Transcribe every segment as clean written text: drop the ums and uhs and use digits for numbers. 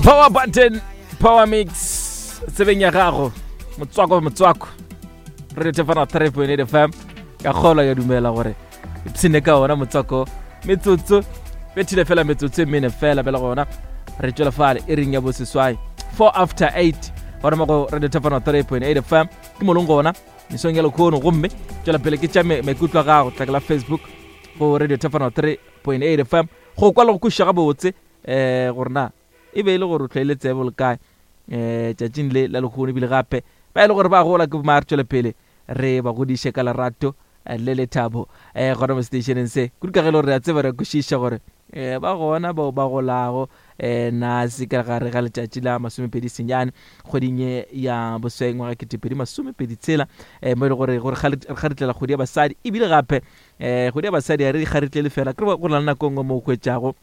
Power Button, Power Mix, tsebeng ya gago, motswako motswako. Radio Tefana 3.8 FM. Ka kgolwa ya dumela gore ipshine ka ona motswako metsotso bethile fela metsotso e mene fela bela gona re tšwela fale e reng ya boseswai 4 after 8 gona mo go Radio Tefana 3.8 FM ke molong gona mesong ya lekhono gomme tšwela pele ke tša maikutlo a gago tlakela Facebook go Radio Tefana 3.8 FM go kwa le go kwešiša gabotse um gore na e be e le gore o tlwaile tsebo le kae um tšatšing le la lehono ebile gape ba e le gore ba gola ke bomare tšwele pele re ba godiše ka lerato eh, le lethabo um gona mo stationeng se kudu ka ge e le gore re a tseba re kwešiša gore um ba gona bao ba golago um na se ka gare ga letšatši la masomepedi senyane kgweding ye ya bosweng ngwaga ketepedi masomepedi tshela um mo e le gore gore ga re tlela kgwedi ya basadi ebile gape um kgwedi ya basadi ga re kgaritlele fela ke go na le nako e nngwe mo o hwetšago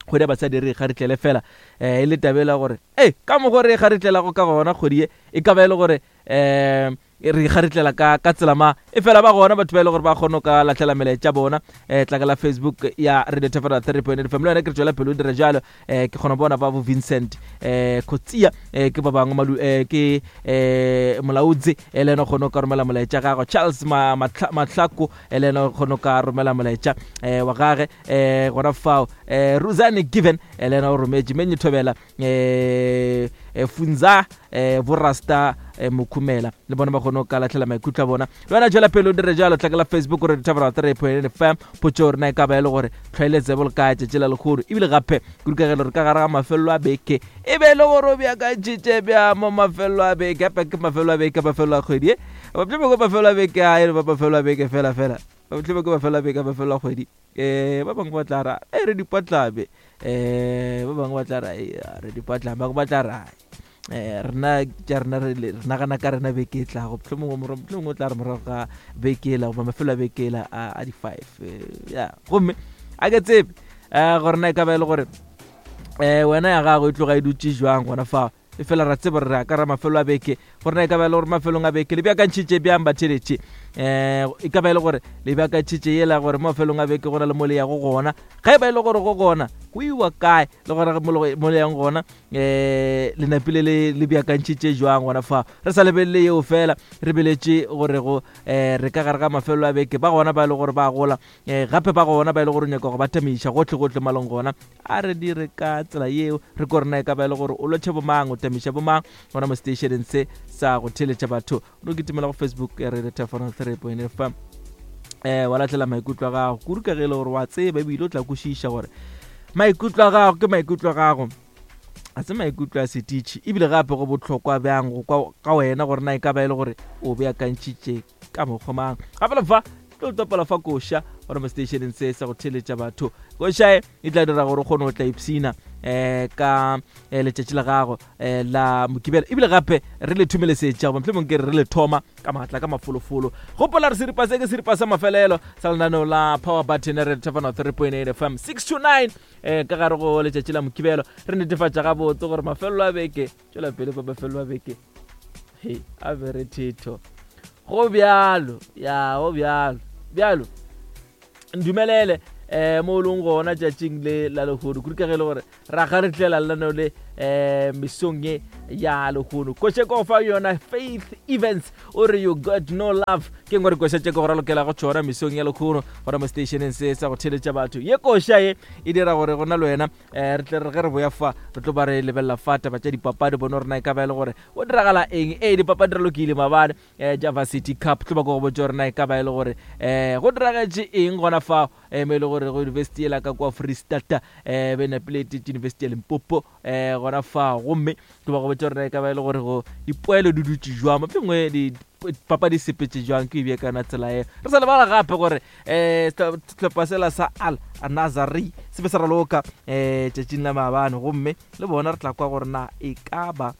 kgwedi ya basadi re kgaritlele fela um e le tabela gore e ka mokgo re kgaritlelago ka gona kgwedi ye e ka ba e le gore um re kgaritlela ka ka tsela ma e fela ba gona batho ba e le gore ba kgone ka latlhela melaetša bona um tla ka la Facebook ya Radio Thefela 3.8 FM le yone ke re tswela pele o dira jalo. Um ke kgona bona ba bo Vincent um Khotsia, um ke ba bangwe malu um ke um molaodzi e le ena o kgone go ka romela molaetša gagwe, Charles Mahlako e le ena o kgone go ka romela molaetša um wa gage um gona fao, um Ruzane Given e le ena o rometše menye thobela, um Funza um Borasta um Mokhumela le bona ba kgone go ka latlhela maikutlo a bona. Le wena jela pele o dire jalo, tlakela Facebook gore dithabela 3.8 FM. Potso rena e ka ba e le gore tlhwaeletsebo le kae tšatši la lekgono, ebile gape kudukagelo re ka gare ga mafelelo a beke, e be e le gore o beakantšhitše bja mo mafelelo a beke, gape ke mafelelo a beke, mafelelo a kgwedi e batlebe ke mafelelo a beke a e le ba mafelelo a beke fela fela, batlebe ke mafelelo a beke, mafelelo a kgwedi. Um ba bangwe ba tla ra e re dipatlabe, um ba bangwe ba tla ra e re dipatlame, ba tla ra um rena tša rena re nagana ka rena beke e tlago, mohlomongwe o tla re morago ga beke ela goba mafelo a beke ela a di-five ya. Gomme a ke tsebe um gore na e ka ba e le gore um wena ya gago e tloga e dutše jwang gona fao, e fela ra tseba gore re ka ra mafelo a beke, gore na e ka ba e le gore mafelong a beke le beakantšhitše bjang batheletše, um e ka ba e le gore le beakantšhitše yela gore mo mafelong a beke go na le mo le yago gona, ge e ba e le gore go gona go iwa kae, le gona mo le yang gona um le napile le beakantšhitše jwang gona fa. Re sa lebelele yeo fela, re beletše gore go um re ka gare ga mafelo a beke, ba gona ba e le gore ba gola, um gape ba gona ba e le gore nyaka go ba tamiša gotlhe gotlhe malong gona, a re dire ka tsela yeo re ko rena e ka ba e le gore o lotšhe bomang, o tamiša bomang gona mo stationeng se sa go theletša batho. No kitimela go Facebook ya Radio Tefano 3.5 FM um wa latlhela maikutlo a gago, kudu ka ge e le gore wa tseba ebile o tla kwešiša gore maikutlo a gago ke maikutlo a gago, a se maikutlo a setitšhi, ebile gape go bohlokwa bjang go kwa ka wena gore na e ka ba e le gore o beakantšhitše ka mokgwa mang. Gape le fa tlo topela fa koša gona mo stationeng se sa go theletša batho, koša e e tla dira gore o kgone go tla ipshina um ka eh, letšatši la gago um la Mokibelo, ebile gape re le thomelesetša goba mohlomong ke re re le thoma ka maatla ka mafolofolo. Gopola re seripa se ke seripa sa mafelelo sa lenaneo la Power Button re thefana 3.8 FM 6 to 9 um ka gare go letšatši la Mokibelo, re netefatša gabotse gore mafelelo a beke tšwela pele pa mafelelo a beke he a be re thetho go bjalo ya go bjalo bjalo. Ndumelele um mo o leng gona tšatšing le la lehono, kudu ka ge e le gore ra ga re tlela lenaneo le um mesong ye ya lehono. Koše ko fa yona Faith Events o re "You Got No Love", ke ngwe re koša tše ke go ralokela go tšona mesong ya lehono gona mo stationeng se sa go theletša batho. Ye koša ye e dira gore gona le wena um re tle re ge re boya fa re tlo ba re lebelela fa taba tša dipapadi, bone gore na e ka ba e le gore go diragala eng. Ee, dipapadi re lokile maabane um Java City Cup, tlo ba ko go botša gore na e ka ba e le gore um go diragetše eng gona fao, um mo e le gore go university ela ka kwa Freestata um be napile etetše University ya Limpopo um gona fao, gomme tlo ba go botša gore na e ka ba e le gore go dipoelo di dutše jwang, mohlomongwe dipapadi sepetse jwang, ke ebje kana tsela eo. Re sa lebala gape gore um sehlopha sela sa Al Nazari se be sa raloka um tšatšing la maabane, gomme le bona re tla kwa gore na e ka ba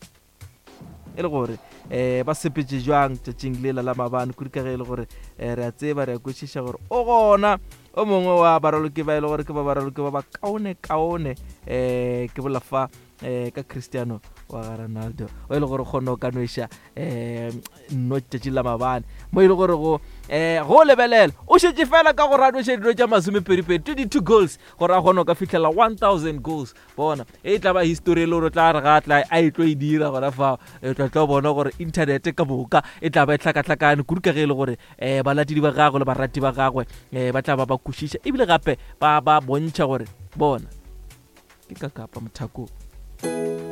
e le gore um ba sepetse jwang tšatšing lela la maabane, kudu ka ge e le gore um re a tseba re a kwešiša gore o gona o mongwe wa baraloki ba e le gore ke ba baraloki ba ba kaone kaone, um ke bola fa. um ka Cristiano wa ga Ronaldo o e le gore kgone o ka nweša um nno tšatši la mabane mo e le gore go um go lebelela o šetše fela ka go ranweša dino tša masomepedipedi 22 goals gore a kgone go ka fihlela 1000 goals. Bona e tla ba history e le gore o tla re ga tla a e tlo e dira gona fao, e tla tlo bona gore internet ka moka e tla ba e hlakahlakane kudu ka ge e le gore um balatedi ba gagwe le barati ba gagwe um ba tla ba ba kwešiša ebile gape ba ba bontšha gore bona ke ka kapa mothakong.